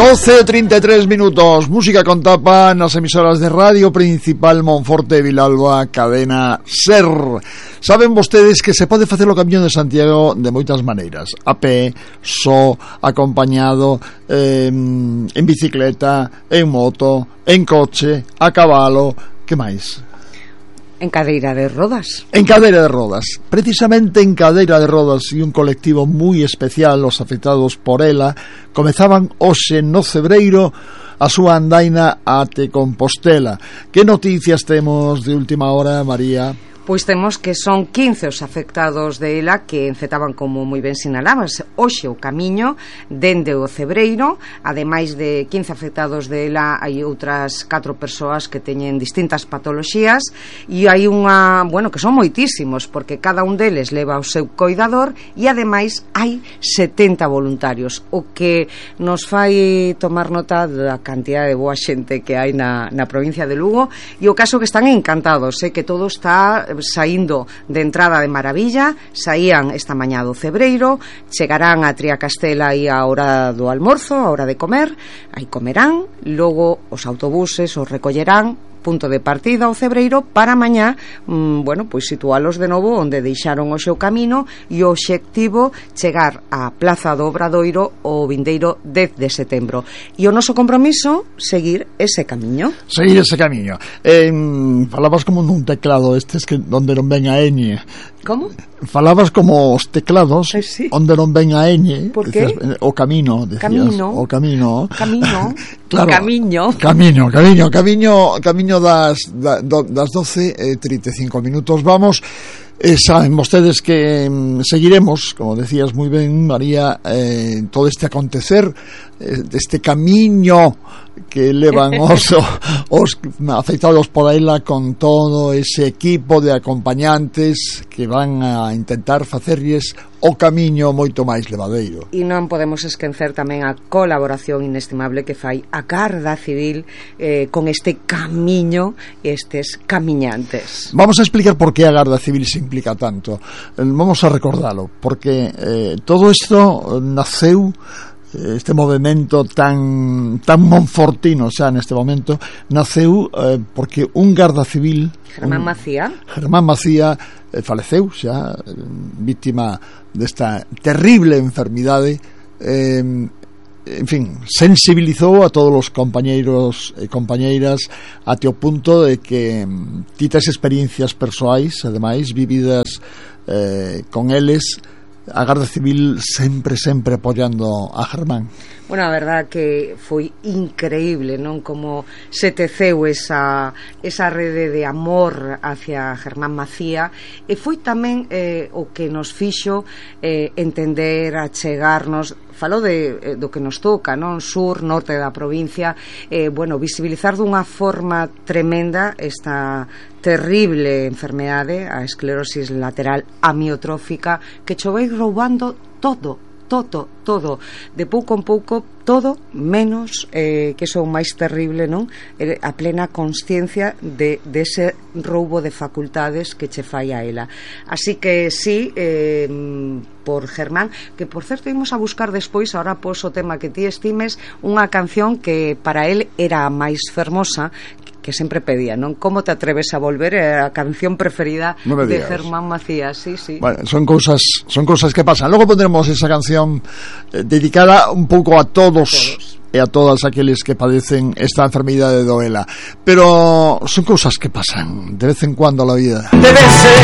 12:33 minutos, música con tapa nas emisoras de Radio Principal Monforte Vilalba, cadena SER. Saben vostedes que se pode facer o Camiño de Santiago de moitas maneiras: a pé, só, acompañado, en bicicleta, en moto, en coche, a cabalo, que máis? En cadeira de rodas. En cadeira de rodas. Precisamente en cadeira de rodas e un colectivo moi especial, os afectados por ela, comezaban hoxe no Cebreiro a súa andaina ate Compostela. Que noticias temos de última hora, María? Pois temos que son 15 os afectados de ela que encetaban, como moi ben sinalabas, hoxe o camiño dende o Cebreiro. Ademais de 15 afectados de ela, hai outras 4 persoas que teñen distintas patoloxías e hai unha, bueno, que son moitísimos, porque cada un deles leva o seu coidador e ademais hai 70 voluntarios, o que nos fai tomar nota da cantidad de boa xente que hai na provincia de Lugo, e o caso que están encantados, que todo está saindo de entrada de maravilla. Saían esta mañá do Cebreiro, chegarán a Triacastela aí a hora do almorzo, a hora de comer, aí comerán, logo os autobuses os recollerán, punto de partida ao Cebreiro, para mañá, bueno, pois situalos de novo onde deixaron o seu camino, e o obxectivo chegar á Plaza do Obradoiro o vindeiro 10 de setembro. E o noso compromiso, seguir ese camiño. Seguir ese camiño. Falabas como nun teclado estes que onde non ven a ñ. Como? Falabas como os teclados, sí, onde non ven a ñ. Por que? O camino, decías. O camino. Claro, Camiño das 12:35 minutos. Vamos, saben vostedes que seguiremos, como decías moi ben, María, todo este acontecer, este camiño que levan os afectados por ela, con todo ese equipo de acompañantes que van a intentar facerlles o camiño moito máis levadeiro. E non podemos esquecer tamén a colaboración inestimable que fai a Garda Civil con este camiño e estes camiñantes. Vamos a explicar por que a Garda Civil se implica tanto. Vamos a recordalo, porque todo isto naceu, este movimento tan monfortino xa neste momento, naceu porque un Garda Civil, Germán Macía, faleceu xa, víctima desta terrible enfermidade. En fin, sensibilizou a todos os compañeiros e compañeiras até o punto de que titas experiencias persoais, ademais, vividas con eles, a Garda Civil sempre apoiando a Germán. Bueno, a verdad que foi increíble, non, como se teceu esa rede de amor hacia Germán Macía, e foi tamén o que nos fixo entender, achegarnos. Falo do que nos toca, non, sur, norte da provincia, bueno, visibilizar dunha forma tremenda esta terrible enfermedade, a esclerosis lateral amiotrófica, que chovei roubando todo, de pouco en pouco, todo menos, que son máis terrible, non, a plena consciencia de ese roubo de facultades que che fai a ela. Así que sí, por Germán, que por certo imos a buscar despois, ahora pos o tema que ti estimes, unha canción que para él era a máis fermosa, que sempre pedía, non? Como te atreves a volver? Era a canción preferida de Germán Macías, sí. Bueno, son cousas que pasan. Logo pondremos esa canción dedicada un pouco a todos e a todas aqueles que padecen esta enfermidade do ELA. Pero son cousas que pasan de vez en cuando a la vida. Debe ser